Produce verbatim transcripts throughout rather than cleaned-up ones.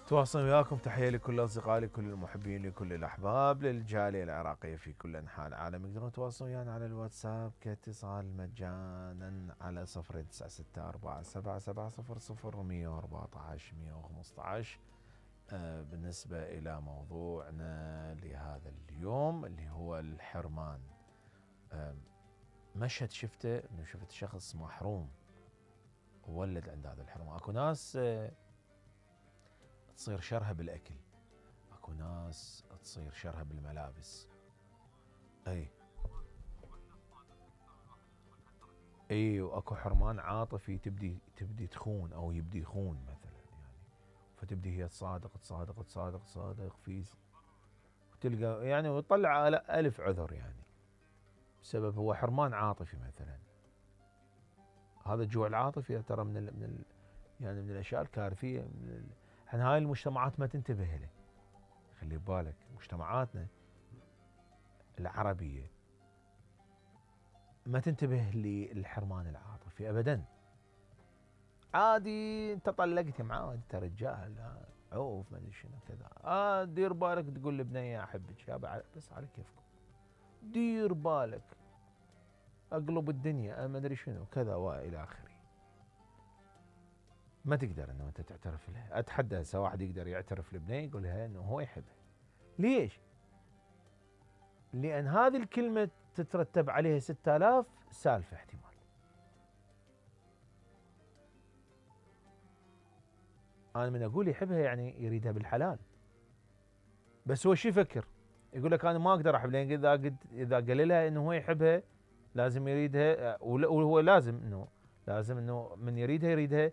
تواصل وياكم، تحية لكل أصدقائي، لكل المحبين، لكل الأحباب، للجالية العراقية في كل أنحاء العالم. يقدرون يتواصلون ويانا على الواتساب كاتصال مجانا على صفر تسعة ستة أربعة سبعة سبعة صفر صفر مية وأربعة عشر مية وخمسة عشر. آه بالنسبة إلى موضوعنا لهذا اليوم اللي هو الحرمان. آه مشهد شفته، انه شفت شخص محروم وولد عند هذا الحرمان. اكو ناس آه تصير شرها بالاكل، اكو ناس تصير شرها بالملابس. اي اي واكو حرمان عاطفي تبدي تبدي تخون او يبدي يخون مثلا، يعني فتبدي هي تصادق تصادق تصادق تصادق في، وتلقى يعني وتطلع الف عذر يعني بسبب هو حرمان عاطفي مثلا. هذا الجوع العاطفي ترى من ال من ال يعني من الاشياء الكارثيه. من ال... احنا هاي المجتمعات ما تنتبه له. خلي ببالك مجتمعاتنا العربيه ما تنتبه للحرمان العاطفي ابدا. عادي انت طلقت يا معود انت رجال عوف ما ادري شنو كذا، اه دير بالك تقول لبنيه احبك يابا بس على كيفكم، دير بالك اقلب الدنيا ما ادري شنو كذا والى اخره. ما تقدر انه انت تعترف لها. اتحدى هسه واحد يقدر يعترف لبنيه يقول لها انه هو يحبها. ليش؟ لان هذه الكلمه تترتب عليها ستة آلاف سالفه احتمال. انا من اقول يحبها يعني يريدها بالحلال، بس هو شو يفكر؟ يقول لك انا ما اقدر احب، لان اذا قد اذا قال لها انه هو يحبها لازم يريدها، وهو لازم انه لازم انه من يريدها يريدها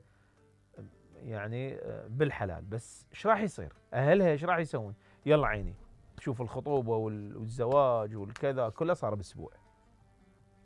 يعني بالحلال. بس ايش راح يصير؟ اهلها ايش راح يسوون؟ يلا عيني شوف الخطوبه والزواج والكذا كله صار باسبوع.